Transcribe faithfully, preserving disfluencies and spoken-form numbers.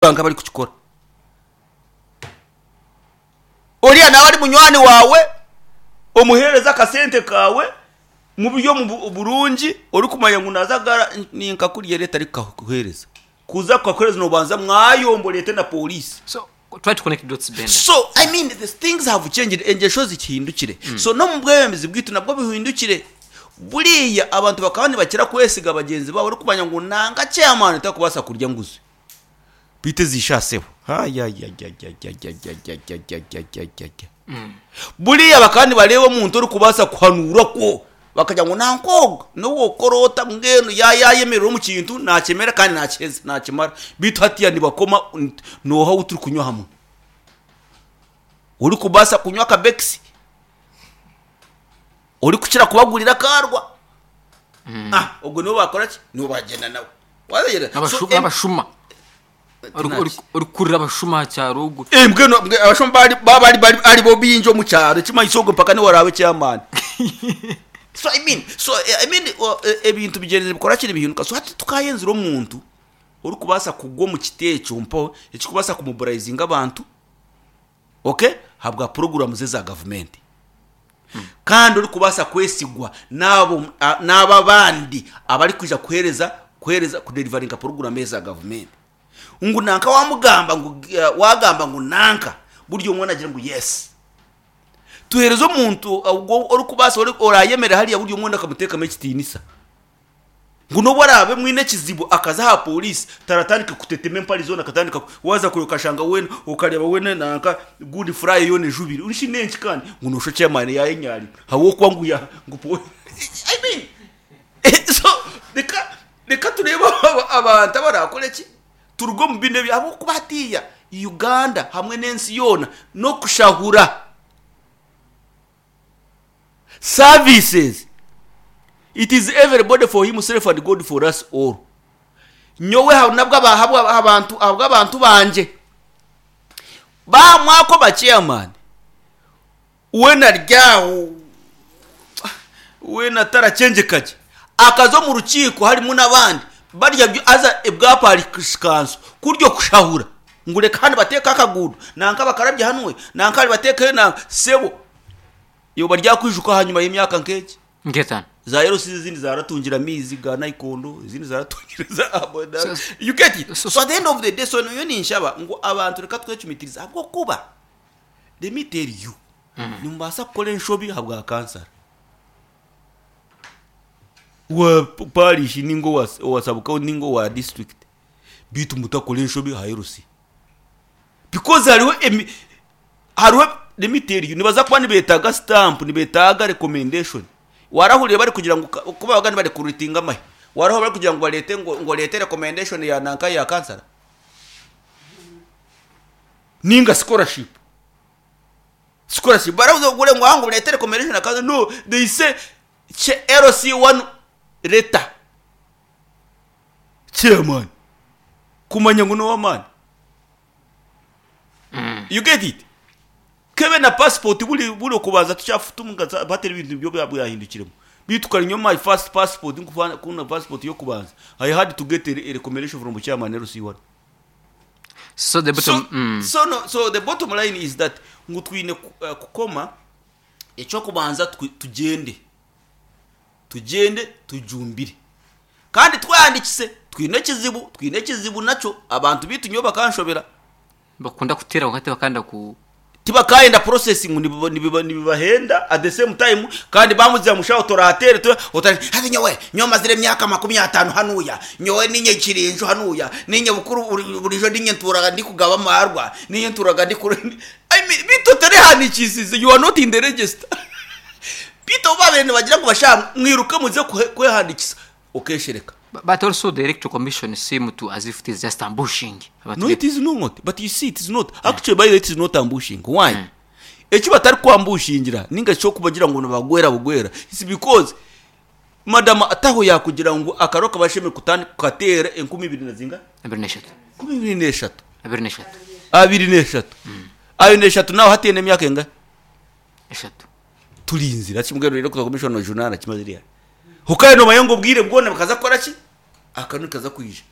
Banka bari kukikora oriya nawe ari munywani wawe, omuheereza akasente kawe mu buryo mu burungi orikumanya ngu naza gara ninka kuriya leta arikukakuheereza kuza kukakuheereza nobanza mwayombo leta na polisi. So try to connect dots, Benda. So I mean, the things have changed, engesho zikihindukire. So no mu bwebembezi bwitu nabwo bihindukire. Buriya abantu bakaba nibakira kwesiga bagenzi babo, orikumanya ngu nanga chairman takubaasa kurya nguzi bite zishaseho. Buriya bakaba nibareeba omuntu orikubaasa kuhanuura kwo bakagira ngu nankoga nowokora ota mbwenu yayemerera omu kintu nakyemera kandi nakyeza nakimara. Bitu hatiya nibakoma noha ou turikunywa hamwe orikubaasa kunywa akabekisi orikukira kubagurira akarwa, ah ogwo niwe bakora ki, niwe bagenda nawe. Abashu- abashuma orikurira abashuma aha kyaro ogwo. Eh, mbwenu mbwe- abashuma bari baba bari bari ari bo bingi omu kyaro ekimanyiso ogwo mpaka niwe oraabe chairman. So I mean, so eh, I mean, uh, eh, ebintu bigyenzire bikora kiri bihinduka. So hati tukayenzire omuntu orikubaasa kugwa omu kiti ekyo mpo ekikubaasa kumobilizinga abantu, okay, habwa poroguramu ze za gavumenti, kandi orikubaasa kwesigwa n'abo a- n'abo abandi abarikwija kuheereza kuheereza kudeliveringa poroguramu eza gavumenti, ngu nanka wamugamba ngu eh, wagamba ngu nanka buryo omwe agira ngu yes. Tuheereze omuntu ogwo orikubaasa ori- orayemera hariya buryo omwe akamuteekamu ekitiinisa, ngu n'obu araabe mwine ekizibu akaza aha polisi taratandika kutetema empari zoona, akatandika ku- waza kure okashanga wena okareba wena nanka good fry yona ejubire nshi nenki, kandi ngu nosho chairman yayenyari habwokuba ngu ya ngu po- I mean, so reka reka turebe aba- abantu abarakora eki turuge omu bino ebyo, habwokuba hatiya Uganda hamwe n'ensi yoona n'okushahura services, it is everybody for himself and God for us all. Nyowe ha- nabwo aba- habwa- abantu habwo abantu banje bamwako ba chairman wena ryaho wena tarachenjekaki akaza omu rukiiko harimu n'abandi barya byo aza ebwa parish council kuryo kushahura ngu reka hano bateeke akaguudo nanka bakarabya hanwe nanka bateekeyo nanka sebo yoba ryakwijuka hanyuma y'emyaka nk'egi nk'etaano. Za L C izindi zaratungira amizi ga Naikondo, izindi zaratungira za Aboda. So- You get it? so- So at the end of the day, so niyo ninshaba ngu abantu reka twecumitiriza, habwokuba let me tell you, nimubaasa kukora enshobi habwa kansara wa parish ningo wa, wa sub-county ningo wa district, bitu mutakora enshobi ha L C, because hariho emi hariho, let me tell you, nibaza kuba nibetaga stamp, nibetaga recommendation. Warahuriye bari kugira ngo ka- kuba bagani bari kurutinga amahe, waraho bari kugira ngo barete ngo ngo lete recommendation ya nanka ya kansara ninga scholarship scholarship baravuze ngo ngo ngo lete recommendation ya kansara. No, they say che L C one letter chairman kumanya ngo no man. You get it? Kebe na passport buri buri kubanza tucyafutunga batera ibintu byo bwahindukiremo bitukara inyuma. My first passport, nkufana kuna passport yo kubanza, I had to get a, a recommendation from chairman L C one. So the bottom so, mm. so, no, so the bottom line is that ngu twine ku- eh, kukoma ekyo kubanza twi- tugende tugende tujumbire kandi twandikise. Twine ekizibu, twine ekizibu nakyo abantu bitu nyo bakanshobera. Bakunda kuteera wakati bakanda ku Tibakayenda processing nibiba- nibiba- nibibahenda at the same time, kandi bamuzira mushaho toratere tu otari hati nyowe nyowe mazire emyaka makumi atanu hanuya, nyowe ninye kirinjo hanuya, ninye bukuru buri- burijo ninye nturaga ndi kugaba amarwa, ninye nturaga ndi kure. I mean, bito terehanikisize, you are not in the register. Bito babene bagira ngo basha mwiruke muze kuhe- kwehandikisa ukeshereka. But, but also the Electoral Commission seem to as if it is just ambushing abantu. No, it is not. But you see, it is not actually, by the way, it is not ambushing. Why? Eki batari kwambushingira ninga cyo kubagira ngo nabagwera bugwera, it's because madam ataho yakugira ngo akaro kabashemere kutani kukatera enkumi ibiri na zinga Abiri n'eshatu. Enkumi ibiri n'eshatu. Abiri n'eshatu. Abiri n'eshatu, abiri n'eshatu nawe hatiye n'emyaka enga Eshatu. Turinzira kimwe rero kuza commission journal kimaziriya hukaye no mayengo bwire bwone bakaza kora ki akantu kaza kwija.